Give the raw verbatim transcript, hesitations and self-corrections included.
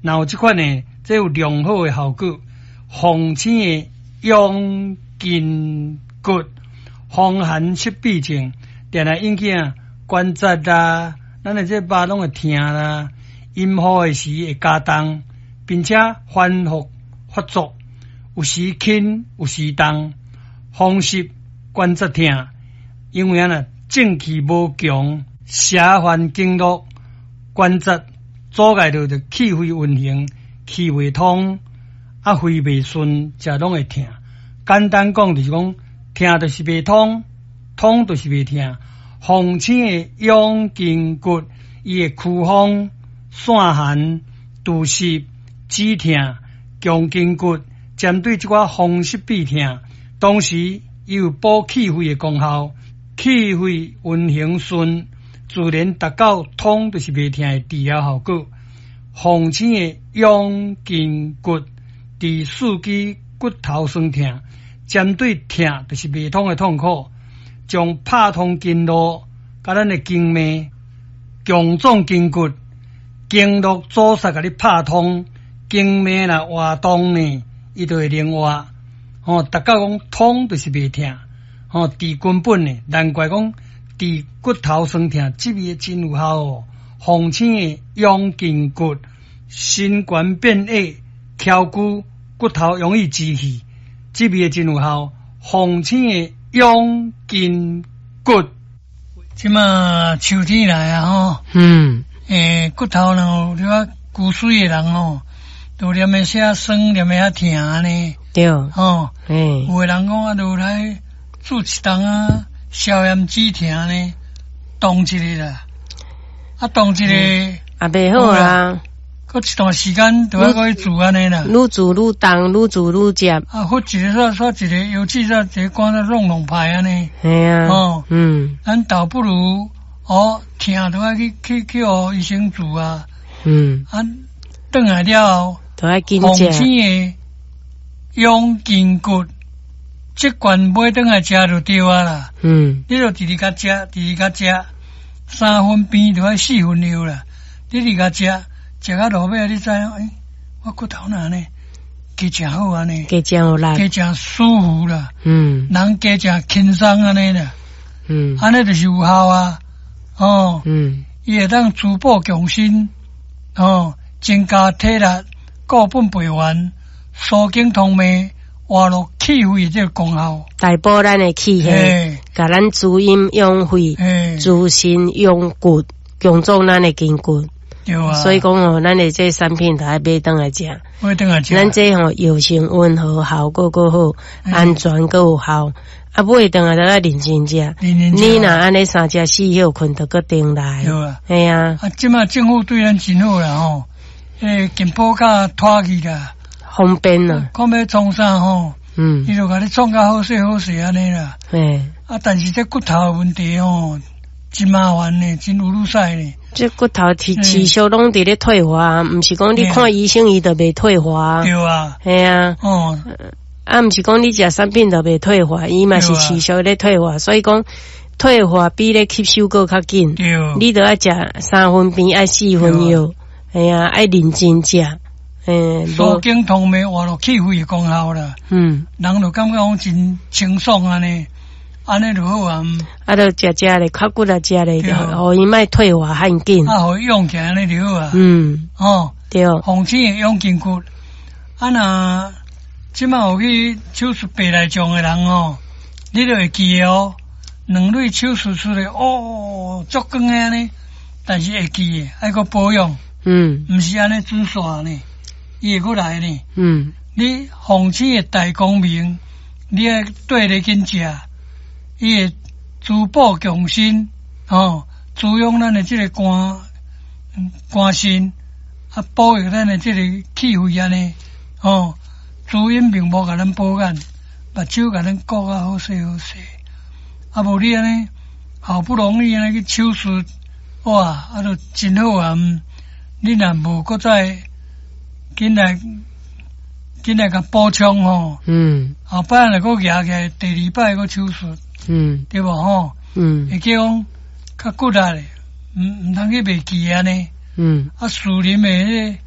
若有這款的，這有良好的效果。防醒的養筋骨，風寒濕痹症，定定引起啊關節啦，咱的這肉攏會疼啦，陰雨的時會加重，並且反覆發作，有時輕有時重，風濕關節疼，因為按呢正氣無強，邪犯經絡，關節阻礙著著氣血運行，氣袂通，啊肺袂順，才攏會疼。簡單講就是講，疼就是袂通，通就是袂疼。鳳青的養筋骨，伊會驅風、散寒、除濕、止疼、強筋骨，針對這寡風濕痹疼，同時伊有補氣血的功效，氣血運行順，自然達到通就是袂疼的治療效果。鳳青的養筋骨，治四肢骨頭痠疼，針對疼就是袂通的痛苦，將拍通經絡，佮咱的經脈，強壯筋骨，經絡阻塞共你拍通，經脈若活動呢，伊就會靈活。吼，達到講通就是袂疼，吼，治根本的，難怪講治骨頭痠疼，這味真有效哦。鳳青的養筋骨，身懸變矮，翹骨骨頭容易支氣，這味真有效。鳳青的養筋骨，這馬秋天來啊吼，嗯，欸，骨頭若有你骨髓的人吼，都連會遐酸，連會遐疼按呢。對，吼，欸，有的人講啊，就來注一筒啊，消炎止疼呢，凍一个啦，啊，凍一個，也袂好啊。閣一段時間就愛閣去注按呢啦。愈注愈重，愈注愈接。啊，忽一个煞煞一个腰子煞一個肝煞弄弄歹按呢。嘿啊。哦，嗯。咱倒不如哦，疼就愛去去去予醫生注啊。嗯。啊，轉來了後，都愛緊食。鳳青的養筋骨，這罐買轉來食就對啊啦。嗯。你就直直共食，直直共食，三分病就愛四分藥啦。你直共食，食到落尾，你知影？欸，我骨頭哪按呢？加誠好按呢？加誠有力，加誠舒服啦。嗯。人加誠輕鬆按呢啦。嗯。按呢就是有效啊。哦。嗯。伊會當滋補強身，哦，增加體力，固本培元，疏經通脈，活絡氣血的這個功效。大補咱的氣血，共咱滋陰養肺，滋身養骨，強壯咱的筋骨。對啊。所以講吼，咱的這產品著愛買轉來食。買轉來食。咱這吼藥性溫和，效果閣好，安全閣有效。啊，買轉來著愛認真食。你若按呢三食四歇睏，就閣轉來。對啊。嘿啊。啊，這馬政府對咱真好啦吼，欸，健保卡拖去啦。方便啦。看欲創啥吼？嗯。伊就共你創甲好勢好勢按呢啦。嘿。啊，但是這骨頭的問題吼，真麻煩呢，真有愈使呢。這骨頭持持續攏佇咧退化，毋是講你看醫生伊就袂退化。對啊。嘿啊。哦。啊，毋是講你食產品就袂退化，伊嘛是持續咧退化，所以講退化比咧吸收閣較緊。對。你著愛食三分病，愛四分藥，嘿啊，愛認真食。欸，疏經通脈、活絡氣血的功效啦。嗯。人就感覺講真清爽按呢，按呢就好啊。啊，著食食咧，較骨力食咧，予伊莫退化遐緊。啊，予伊養起來按呢就好啊。嗯。哦。對。鳳青的養筋骨，啊若這馬有去手術白內障的人哦，你就會記得哦，兩蕊手術出來哦，足光的按呢，但是會記得愛閣保養。嗯。毋是按呢準煞呢，伊會閣來呢。嗯。你鳳青的大光明，你愛綴咧緊食，伊會滋補強身，吼，滋養咱的這個肝肝腎，啊，保育咱的這個氣血按呢，吼，滋陰明目共咱保眼，目睭共咱顧甲好勢好勢。啊，無你按呢，好不容易按呢去手術，哇，啊，就真好啊！你若無閣再緊來緊來共補充吼，嗯，後擺若閣舉起來，第二擺閣手術，嗯，對無吼？嗯，會叫講較骨力，毋毋通去袂記按呢。嗯，啊，士林的彼個。